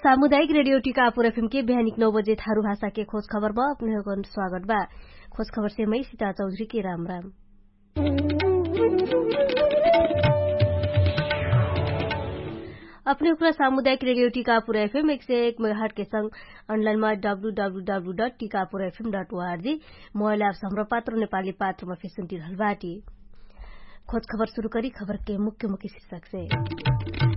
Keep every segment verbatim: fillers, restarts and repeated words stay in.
सामुदायिक रेडियो टिकापुर एफएम के बिहानिक नौ बजे थारु भाषा के खोज खबर मा अपने होगन स्वागत बा। खोज खबर से मै सिता चौधरी के राम राम। अपने ओकरा सामुदायिक रेडियो टिकापुर एफएम एक सय एक मेगाहट के संग अनलाइन मा W W W dot Tikapur FM dot ORG mobile apps हमरा पात्र नेपाली पात्र मा फेसुन्टी रहल बाटी। खोज खबर सुरु करी खबर के मुख्य मुख्य शीर्षक से।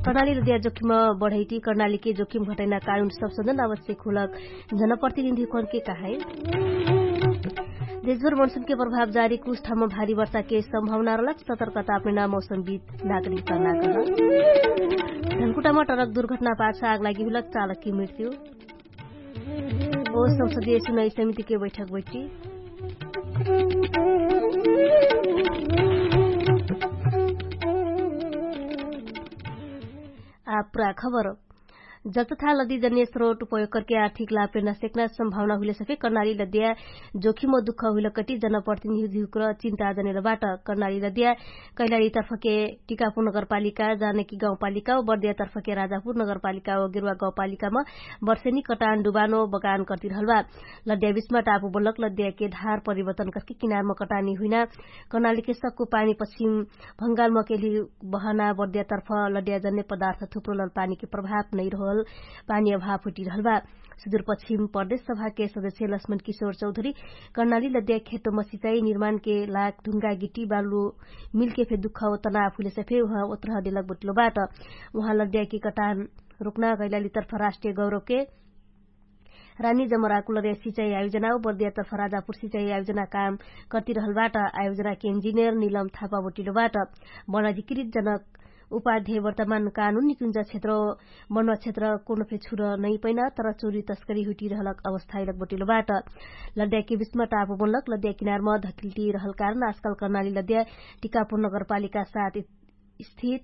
कर्णाली लदिया जोखिम बढैटी कर्णाली के जोखिम घटैना कानुन संशोधन आवश्यक हुलक जनप्रतिनिधि कोन के कहाई। देशभर मनसुन के प्रभाव जारी कुछ ठाम भारी वर्षा के सम्भावना रहलक सतर्कता अपने नाम मौसम बीत नागरिक कर्णाली। धनकुटामा टरक दुर्घटना पाछ आग लागि हुलक चालक की मृत्यु। ओ संसदीय सुनाई समिति के बैठक बैठी। आ पुरा खबर। जल तथा लदी जन्य स्रोट उपयोग करके आर्थिक लाभ पेर्ना सेक्ना सम्भावना हुइले सफे कर्णाली लद्या जोखिम दुख हुइल कटी जनप्रतिनिधि हुक्र चिन्ता जनेल बाट। कर्णाली लद्या कैलाली तर्फके टिकापुर नगरपालिका जानकी गाउँपालिका व बर्दिया तर्फके राजापुर नगरपालिका व गेरुवा गाउँपालिकामा बर्सेनी कटान डुबानो बगान कर्तिरहल बा। लद्या बिचमा टापु बोलक लद्याके धार परिवर्तन करके किनारमा कटानी हुइना कर्णालीके सक्कु पानी पश्चिम भङ्गालमा केली बहना बर्दिया तर्फ लद्या जन्ने पदार्थ थुप्रो लल पानीके प्रभाव नैरहल पानी अभाव हुटिरहल बा। सुदुर पश्चिम प्रदेश सभाके सदस्य लक्ष्मण किशोर चौधरी कर्णाली लद्या खेतमा सिचाई निर्माणके लाग ढुङ्गा गिटी बालु मिलके फे दुख तनाव हुइलेसे फे उहाँ ओत्रह देलक बटिलो बाट। उहाँ लद्याके कटान रुक्ना कैलाली तर्फ राष्ट्रिय गौरवके रानी जमरा कुलरे सिचाई आयोजना व बर्दिया तर्फ राजापुर सिचाई आयोजना काम कर्तिरहल बाट। आयोजनाके इन्जिनियर निलम थापा बटिलो बाट। बन अधिकृत जनक उपाध्याय वर्तमान कानुन निकुञ्ज क्षेत्र बनुवा क्षेत्र कोनो फे छुर नैपैना तर चोरी तस्करी हुइटिरहलक अवस्था इलक बटिलो बाट। लद्याके बिचमा टापु बनलक लद्या किनारमा धकिल्टिरहल कारण आजकाल कर्णाली लद्या टिकापुर नगरपालिका साथ स्थित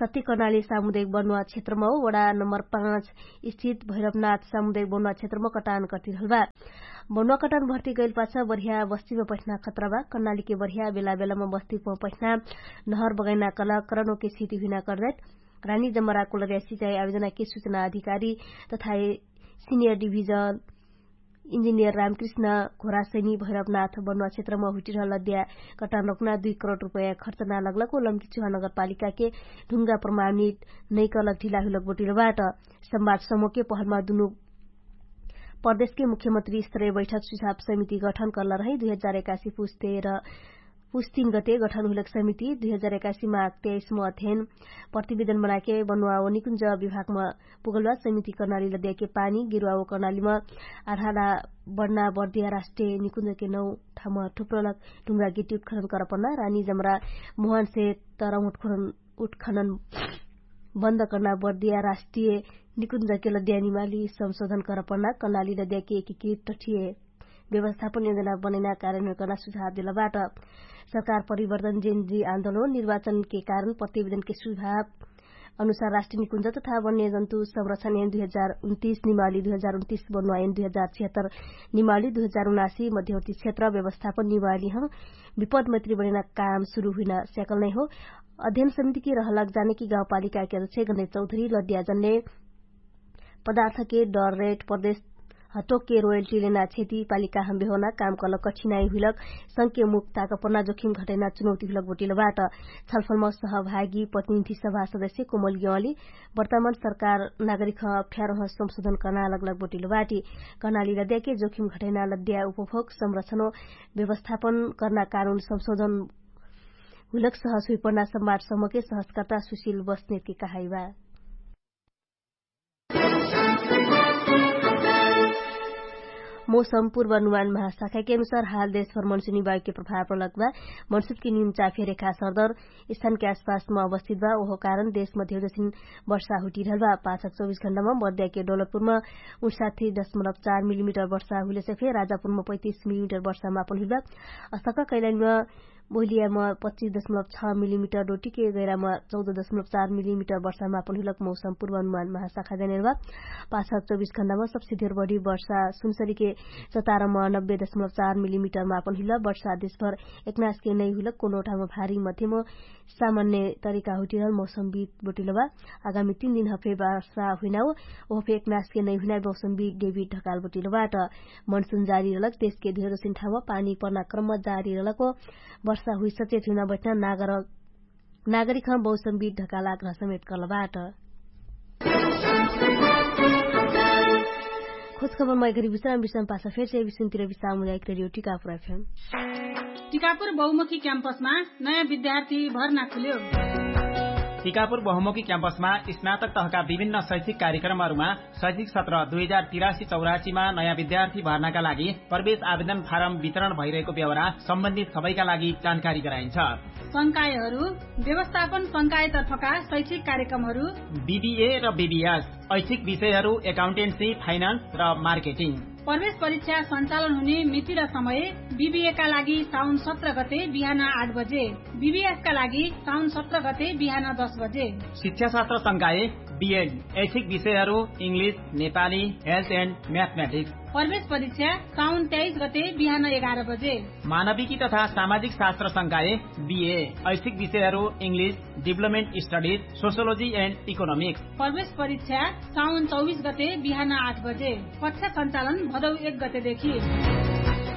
सत्य कर्णाली सामुदायिक बनुवा क्षेत्रमा हो वडा नम्बर पाँच स्थित भैरवनाथ सामुदायिक बनुवा क्षेत्रमा कटान कर्तिरहल बा। बनुवा कटान भर्ती गैल पाछ बढिया बस्तीमा पैठना खतरा बा कर्णालीके बढिया बेला बेलामा बस्तीमा पैठना नहर बगैना कला करनोके स्थिति हुइना कर्दैत रानी जमरा कोलर्या सिचाई आयोजनाके सुचना अधिकारी तथा सिनियर डिभिजन इन्जिनियर रामकृष्ण घोरासैनी भैरवनाथ बनुवा क्षेत्रमा हुइटिरहल अद्या कटान रोक्ना दुई करोड रुपैया खर्च ना लगलक ओलम्की चुहा नगरपालिकाके ढुङ्गा प्रमाणित नैकलक ढिला हुइलक बटिलो बाट। संवाद समूहके पहलमा दुनु प्रदेशके मुख्यमन्त्री स्तरय बैठक सुझाव समिति गठन कर्ल रहै दुई हजार एकासी पुस्ते र पुस्तिन गते गठन हुइलक समिति दुई हजार एकासी माघ त्याइसमा अध्ययन प्रतिवेदन बनाके बनुवा व निकुञ्ज विभागमा पुगलवा समिति कर्णाली लद्याके पानी गिरुवा व कर्णालीमा आधाला बढ्ना बर्दिया राष्ट्रिय निकुञ्जके नौ ठाम ठुप्रलक ढुङ्गा गिटी उत्खनन करपन्ना रानी जमरा मोहनसे तरम उत्खनन बन्द कर्ना बर्दिया राष्ट्रिय निकुञ्जके लद्या निमाली संशोधन करपन्ना कर्णाली लद्याके एकीकृत टठिय व्यवस्थापन योजना बनैना कार्यन्वयन कर्ना सुझाव देलबाट। सरकार परिवर्तन जेनजी आन्दोलन निर्वाचनके कारण प्रतिवेदनके सुझाव अनुसार राष्ट्रिय निकुञ्ज तथा वन्यजन्तु संरक्षण एन दुई हजार उन्तिस निमाली दुई हजार उन्तिस बनुवा एन दुई हजार छिहत्तर निमाली दुई हजार उनासी मध्यवर्ती क्षेत्र व्यवस्थापन निमाली हम विपद मैत्री बनैना काम सुरु हुइना स्याकल नै हो। अध्ययन समितिके रहलक जानेकी गाउँपालिकाके अध्यक्ष गणेश चौधरी लद्याजनले पदार्थके डर रेट प्रदेश हटोकके रोयल्टी लेना क्षति पालिका हम बेहोना काम कलक कठिनाइ हुइलक संके मुक्ताक प्रना जोखिम घटैना चुनौती हुइलक बोटिलो बाट। छलफलमा सहभागी प्रतिनिधि सभा सदस्य कोमल यौली वर्तमान सरकार नागरिक अप्ठ्यारोह संशोधन कर्ना लगलक बोटिलो बाटी। कर्नाली लद्याके जोखिम घटैना लद्या उपभोग संरक्षणो व्यवस्थापन कर्ना कानुन संशोधन हुइलक सहज हुइपर्ना संवाद समके सहजकर्ता सुशिल बस्नेतके कहाइबा। मौसम पूर्वानुमान महाशाखाके अनुसार हाल देशभर मनसुनी वायुके प्रभाव प्रलक बा। मनसुनके निम्चा फेरेखा सरदर स्थानके आसपासमा अवस्थित बा ओहो कारण देशमा धेउजसिन वर्षा हुटिरहल बा। पाछक चौबिस घण्टामा बर्द्याके डोलपुरमा उनसाथी दशमलब चार मिलिमिटर वर्षा हुइलेसे फे राजापुरमा पैतिस मिलिमिटर वर्षा मापन हुइल बा। असक कैलाइनमा बोहिलियामा पच्चिस दशमलब छ मिलिमिटर डोटिके गैरामा चौध दशमलब चार मिलिमिटर वर्षामा अपन हुइलक मौसम पूर्वानुमान महाशाखा जानेर बा। पाछा चौबिस घण्डामा सबसे धेर बढी वर्षा सुनसरीके चतारमा नब्बे दशमलब चार मिलिमिटरमा अपन हुइल वर्षा देशभर एकनासके नै हुइलक कोनो ठाउँमा भारी मध्यम सामान्य तरिका हुइटिरहल मौसम बिद बोटिल बा। आगामी तीन दिन हफे वर्षा हुइनाउ ओहफे एकनासके नै हुइनाइ मौसम बिद डेबिट ढकाल बोटिल बाट। मनसुन जारी रहलक देशके धेरो सिन्ठामा पानी पर्ना क्रम जारी रहलक हो। वर्षा हुइ सचेत हुइना बैठना नागरिक नागरिकमा मौसम बिद ढकाल आग्रह समेत करल बाट। खोजखबर मैगरी विश्राम विश्राम पासा फेर से विश्राम तिरवी सामुदायिक रेडियो टिकापुर एफएम। टिकापुर बहुमुखी क्याम्पसमा नयाँ विद्यार्थी भर्ना खुल्यो। टिकापुर बहुमुखी क्याम्पसमा स्नातक तहका विभिन्न शैक्षिक कार्यक्रमहरूमा शैक्षिक सत्र दुई हजार तिरासी चौरासीमा नयाँ विद्यार्थी भर्नाका लागि प्रवेश आवेदन फारम वितरण भइरहेको बेहोरा सम्बन्धित सबैका लागि जानकारी गराइन्छ। संकायहरू व्यवस्थापन संकायतर्फका शैक्षिक कार्यक्रमहरू बिबिए र बिबिएस, ऐच्छिक विषयहरू एकाउन्टेन्सी, फाइनान्स र मार्केटिङ। प्रवेश परीक्षा सञ्चालन हुने मिति र समय बिबिएका लागि साउन सत्र गते बिहान आठ बजे, बिबिएसका लागि साउन सत्र गते बिहान दस बजे। शिक्षाशास्त्र संकाय बिएड, ऐच्छिक विषयहरू इङ्ग्लिस, नेपाली, हेल्थ एन्ड म्याथमेटिक्स। प्रवेश परीक्षा साउन तेइस गते बिहान एघार बजे। मानविकी तथा सामाजिक शास्त्र संकाय बिए, ऐच्छिक विषयहरू इङ्ग्लिस, डिभलपमेन्ट स्टडिज, सोसियोलोजी एन्ड इकोनोमिक्स। प्रवेश परीक्षा साउन चौबिस गते बिहान आठ बजे। कक्षा सञ्चालन भदौ एक गतेदेखि।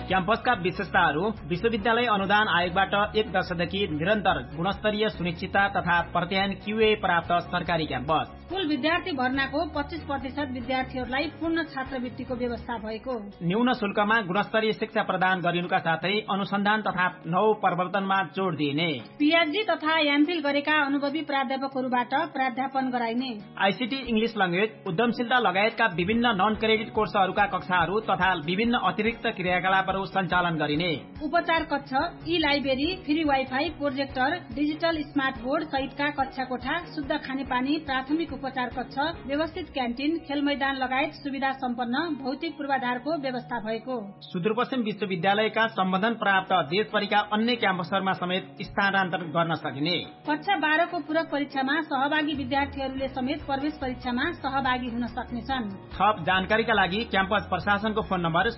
क्याम्पसका विशेषताहरू विश्वविद्यालय अनुदान आयोगबाट एक दशकदेखि निरन्तर गुणस्तरीय सुनिश्चितता तथा प्रत्यायन क्युए प्राप्त सरकारी क्याम्पस। कुल विद्यार्थी भर्नाको पच्चिस प्रतिशत विद्यार्थीहरूलाई पूर्ण छात्रवृत्तिको व्यवस्था भएको। न्यून शुल्कमा गुणस्तरीय शिक्षा प्रदान गरिनुका साथै अनुसन्धान तथा नव प्रवर्तनमा जोड दिइने। पिएचडी तथा एमफिल गरेका अनुभवी प्राध्यापकहरूबाट प्राध्यापन गराइने। आइसिटी इङ्ग्लिस ल्याङ्ग्वेज उद्यमशीलता लगायतका विभिन्न नन क्रेडिट कोर्सहरूका कक्षाहरू तथा विभिन्न अतिरिक्त क्रियाकलापहरू सञ्चालन गरिने। उपचार कक्ष, ई library, free wifi, projector, digital smart board सहितका कक्षा कोठा, शुद्ध खानेपानी, प्राथमिक उपचार कक्ष, व्यवस्थित क्यान्टिन, खेलमैदान लगायत सुविधा सम्पन्न भौतिक पूर्वाधारको व्यवस्था भएको। सुदूरपश्चिम विश्वविद्यालयका सम्बन्धन प्राप्त देशभरिका अन्य क्याम्पसहरूमा समेत स्थानान्तरण गर्न सकिने। कक्षा बाह्रको पूरक परीक्षामा सहभागी विद्यार्थीहरूले समेत प्रवेश परीक्षामा सहभागी हुन सक्नेछन्। थप जानकारीका लागि क्याम्पस प्रशासनको फोन नम्बर